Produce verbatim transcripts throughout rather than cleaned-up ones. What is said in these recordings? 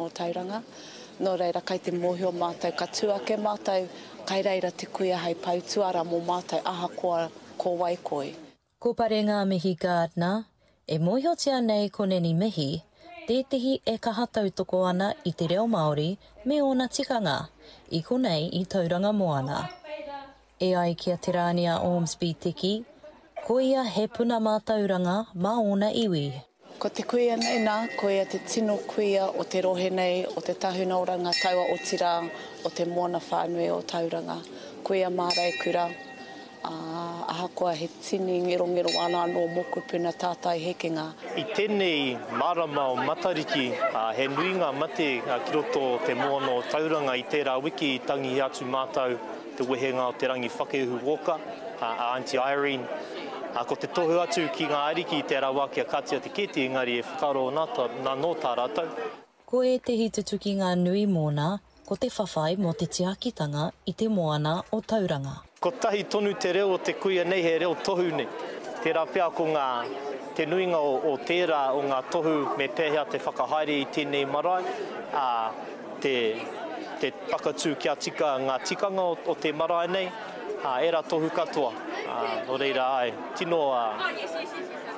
o Tauranga. Nō reira, kai te mōhio mātou, ka tū ake mātou, kai reira te kuia hei pou tuara mō mātou ahakoa ko wai koe. Ko Parengamihi Gardiner, e mōhiotia nei ko Nanny Mihi, tētehi e kaha tautoko ana i te reo Māori me ōna tikanga, i konei i Tauranga Moana. E ai ki a Te Rānia Ormsby Teki, ko ia he puna mātauranga mā ōna iwi. Ko te kuia nei nā, ko ia te tino kuia o te rohe nei, o te tahuna oranga taua otirā, o te moana whānui o Tauranga. Kuia māreikura, ā, ahakoa he tini ngerongero ana anō mokopuna tātai hekenga. I tēnei marama o Matariki, he nui ngā mate ki roto o te moana o Tauranga. I tērā wiki i tangihi atu mātou te wehenga o Te Rangi Whakeuhu Walker, a Aunty Irene. Ko te tohu atu ki ngā ariki i tērā wā kia katia te kēti, engari e whakaaro ana nō tā rātou. Ko ētehi tutukinga nui mōna, ko te whawhai mō te tiakitanga i te moana o Tauranga. Kotahi tonu te reo o te kuia nei, he reo tohu nei. Tērā pea ko ngā, te nuinga o, o tērā o ngā tohu me pēhea te whakahaere i tēnei marae, ā, te, te whakatū kia tika ngā tikanga o, o te marae nei, ā, ērā tohu katoa. Ā, nō reira, āe, tino, ā,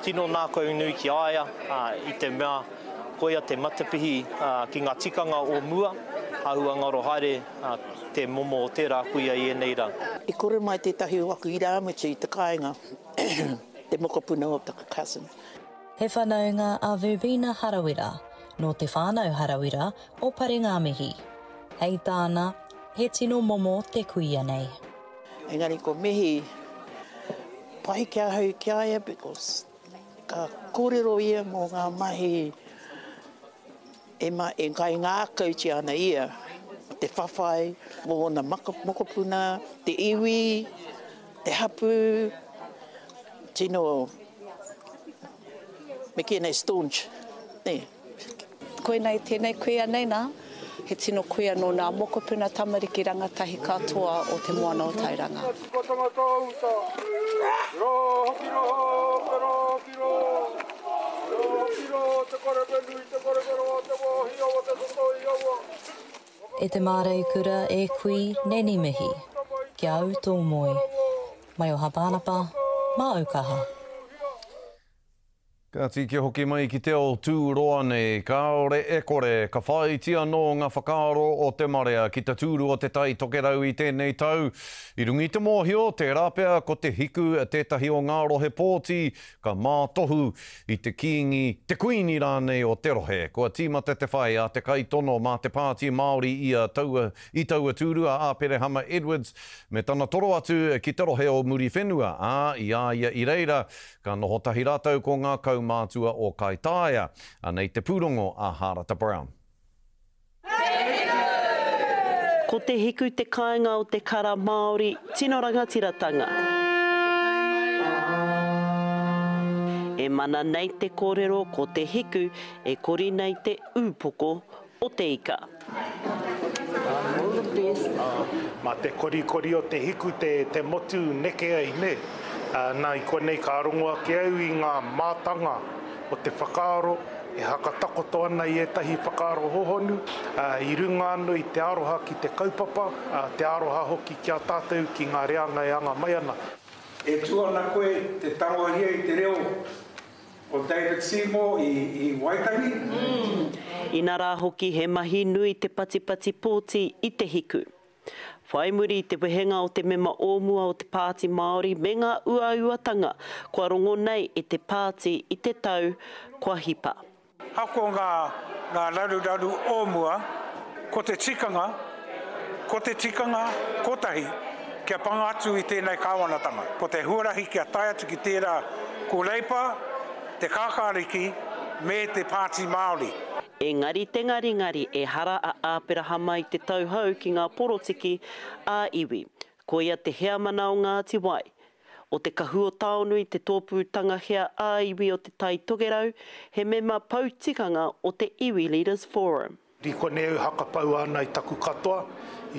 tino nākau nui ki a ia, ā, i te mea koia te matapihi, ā, ki ngā tikanga o mua, āhua ngaro haere, ā, te momo o tērā kuia i ēnei rā. I kore mai tētahi o aku irāmutu i te kāinga, te mokopuna o taku cousin. He whanaunga a Verbena Harawira, nō te whānau Harawira o Parengamihi. Hei tāna, he tino momo te kuia nei. Engari ko Mihi pai ki ahau ki a ia because ka kōrero ia mō ngā mahi e, ma, e kaingākautia ana ia, te whawhai mō ōna mokopuna, te iwi, te hapū, tino, me kī nei staunch, nē. Koinei tēnei kuia nei nā, he tino kuia nō nā mokopuna tamariki rangatahi katoa o te moana o Tauranga. E te māreikura e kui Nanny Mihi, kia au tō moe. Maioha Pānapa, mā Aukaha. Kāti kia hoki mai ki te ao tūroa nei, kāore e kore, ka whāiti anō ngā whakaaro o te marea ki te tūru o te Tai Tokerau i tēnei tau. I runga i te mōhio, tērā pea ko te hiku tētahi o ngā rohe pōti ka mātohu i te kīngi, te kuini rānei o te rohe. Kua tīmata te whai a te kaitono mā te Pāti Māori i a taua, i taua tūru a Aperehama Edwards me tana toro atu ki te rohe o Muriwhenua, ā, i a ia i reira, ka noho tahi rātou ko ngā kaumātua o Kaitaia. Anei te pūrongo a Harata Brown. Ko te hiku te kāinga o te kara Māori tino rangatiratanga. E mana nei te kōrero ko te hiku e kori nei te ūpoko o te ika. Mā te korikori o te hiku te, te motu neke ai, ne? Nā, i konei ka rongo ake au i ngā mātanga o te whakaaro e hakatakoto ana i ētahi whakaaro hohonu, i runga anō i te aroha ki te kaupapa, te aroha hoki ki a tātou ki ngā reanga e anga mai ana. E tū ana koe te tangohia i te reo o David Seymour i, i Waitangi. Mm. Inarā hoki he mahi nui te patipati pōti i te hiku. Whai muri i te wehenga o te mema o mua o te Pāti Māori me ngā uauatanga kua rongo nei e te pāti i te tau kua hipa. Hako ngā, ngā raruraru o mua, ko te tikanga, ko te tikanga kotahi kia panga atu i tēnei kāwanatanga. Ko te huarahi kia tae atu ki tērā ko Reipa, te Kākāriki me te Pāti Māori. Engari te ngaringari ehara a Aperahama i te tauhou ki ngā porotiki ā-iwi. Koia te heamana o Ngāti Wai, o te Kahu o Taonui te tōpūtanga hea ā-iwi o te Tai Tokerau, he mema pou tikanga o te Iwi Leaders Forum. I konei au hakapaua ana i taku katoa,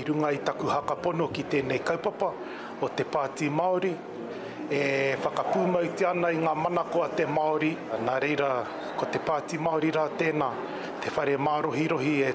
i runga i taku hakapono ki tēnei kaupapa o te Pāti Māori, e whakapūmautia ana i ngā manako a te Māori. Nā reira, ko te Pāti Māori rā tēnā, Te whare mārohirohi e